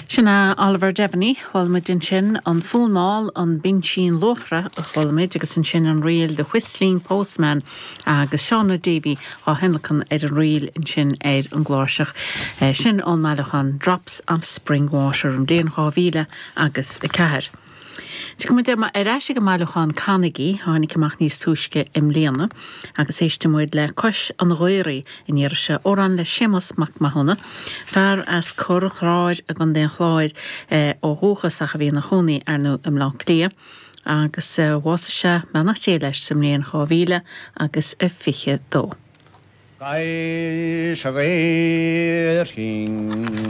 Sin é Oliver Devaney, chuala muid ansin an Fonn Mall, an Binsín Luachra a chuala muid agus ansin an ríl The Whistling Postman agus Shauna Davey á thionlacan ar an ríl ansin ar an gcláirseach. Sin ón mbailiúchán Drops of Spring Water ón bhliain 2000 agus 4. Tiocfaidh muid ar ais ag an mbailiúchán Canaigí, a tháinig amach níos túisce i mbliana, agus éistfidh muid le Cois an Ghaorthaidh an iarraidh seo, amhrán le Séamus Mac Mathúna, fear as Corr an Chláir i gContae an Chláir ó dhúchas ach a bhí ina chónaí, ar ndóigh, i mBleá Cliath, agus bhásaigh sé, beannacht Dé leis, sa mbliain 2000 agus a 22. Cois an Ghaorthaidh.